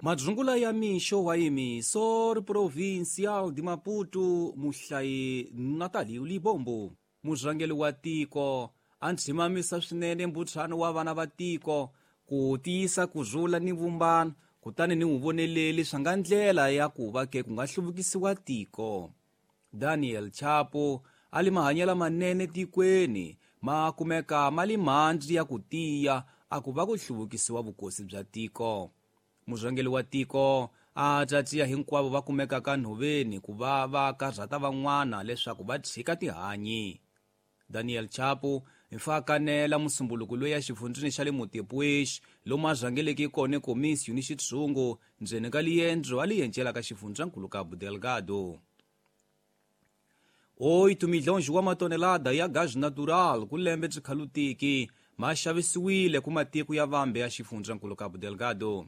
Madzungula ya mixo wa Emissor Provincial de Maputo, muhlayi Natalio Libombo. Murhangeri wa tiko a ndzhimamisa swinene mbuthano wa vana va tiko ku tiyisa ku rhula ni vumbano, kutani ni vuvoneleli swa nga ndlela ya ku va ke ku nga hluvukisiwa tiko. Daniel Chapo a li mahanyelo manene tikweni ma kumeka ma li mandzi ya ku tiya a ku va ku hluvukisiwa vukosi bya tiko. Murhangeri wa tiko a tatiya hinkwavo va kumekaka nhoveni ku va va karhata van'wana leswaku va tshika tihanyi. Daniel Chapo hi fa kanela musumbuluko loyi ya xifundzini xa le Montepuez lomu a rhangeleke kona komisiyo ni xitshungu ndzeni ka liendzo a li yencelaka xifundzankulu Cabo Delgado. 8 milhões wa matonelada ya gás natural ku lembe byi ma xavisiwile ku matiko ya vambe ya xifundzankulu Cabo Delgado.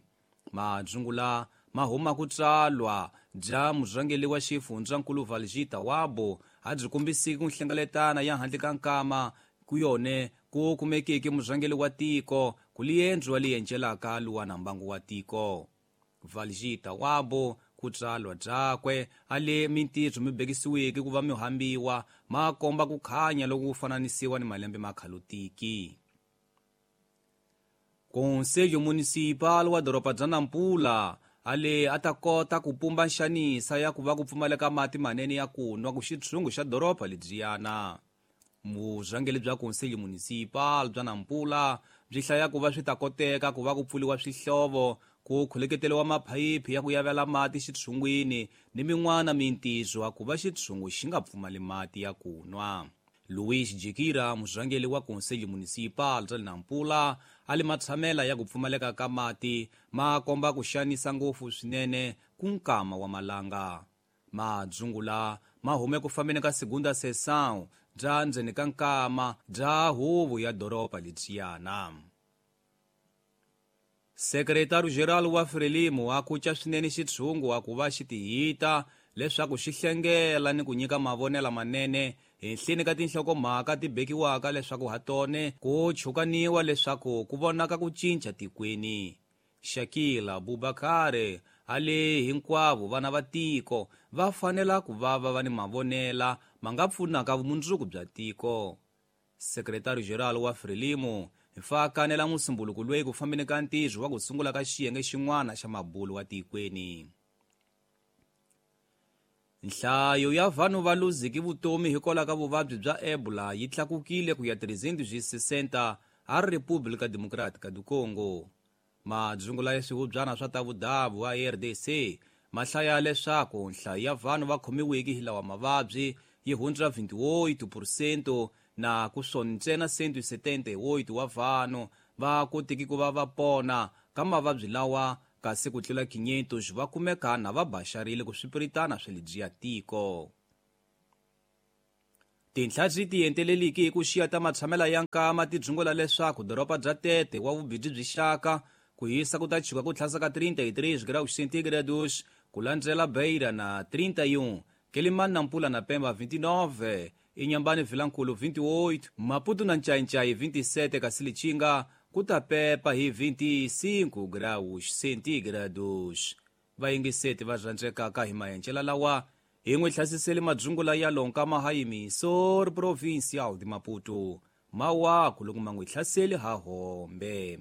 Madzungula ma huma ku tsalwa bya murhangeri wa xifundzankulu Valjita Wabo a byi kombisiki ku hlengeletana ya handle ka nkama ku yone ku kumekeke murhangeri wa tiko ku liendzo li yencelaka luwana mbangu wa tiko. Valjita Wabo ku tsalwa byakwe a le mintirho mi bekisiweke ku va mi hambiwa ma komba ku khanya loko ku fananisiwa ni malembe ma khalutiki. Conselho Municipal wa doroba bya Nampula ale a ta kota ku pumba nxanisa ya ku va ku pfumaleka mati manene ya ku nwa ku xitshungu xa doroba lebyiyana. Vurhangeri bya Conselho Municipal bya Nampula byi hlaya ku va swi ta koteka ku va ku pfuriwa swihlovo, ku kholeketeriwa maphayiphi ya ku yavela mati xitshungwini ni min'wana mintirho ku va xitshungu xi nga pfumali mati ya ku nwa. Luís Jikira, murhangeri wa Conselho Municipal bya Nampula, a li matshamela ya ku pfumaleka ka mati ma komba ku xanisa ngopfu swinene ku nkama wa malanga. Madzungula ma hume ku fambeni ka segunda sessão bya ndzeni ka nkama bya huvo ya doroba lebyiyana. Sekretariyo Geral wa Frelimo a kuca swinene xitshungu a ku va xi tihita leswaku xi hlengela ni ku nyika mavonelo manene henhleni ka tinhlokomhaka ti bekiwaka leswaku ha tone ku chukaniwa leswaku ku vonaka ku cinca tikweni. Shakila Abubakar a le hinkwavo vana va tiko va fanela ku va va va ni mavonela ma nga pfunaka vumundzuku bya tiko. Sekretariyo Geral wa Frelimo hi fa kanela musumbuluko loyi ku fambeni ka ntirho wa ku sungula ka xiyenge xin'wana xa mabulo wa tikweni. Nhlayo ya vanhu va luziki vutomi hikwalaho ka vuvabyi bya Ebola yi tlakukile ku ya 360 a República Democrática do Congo. Madzungula ya swihubyana swa ta vudavu a RDC ma hlaya leswaku nhlayo ya vanhu va khomiweke hi lawa mavabyi yi hundza 28% na ku swona ntsena 178 wa vanhu va kotiki ku va va pona ka mavabyi lawa, kasi ku tlula 500 va kumeka na va baxarile ku swipiritana swa lebyiya tiko. Tinhla ti enteleliki hi ku xiya ta matshamela ya nkama ti dzungula leswaku doroba bya Tete wa vubidzi byi xaka ku hisa ku ta chuka ku tlhasa ka 33 graus centígrados, ku landzela Beira na 31, Quelimane, Nampula na Pemba 29, Inhambane Vilankulu 28, Maputo na Ncaincaí 27, kasi Lichinga ku ta pepa hi 25 graus centígrados. Vayingiseti va rhandzekaka hi mahencela lawa hi n'wi hlasiseli madzungula ya lonka mahayimiso Provincial de Maputo mawaku loko ma n'wi hlaseli ha hombe.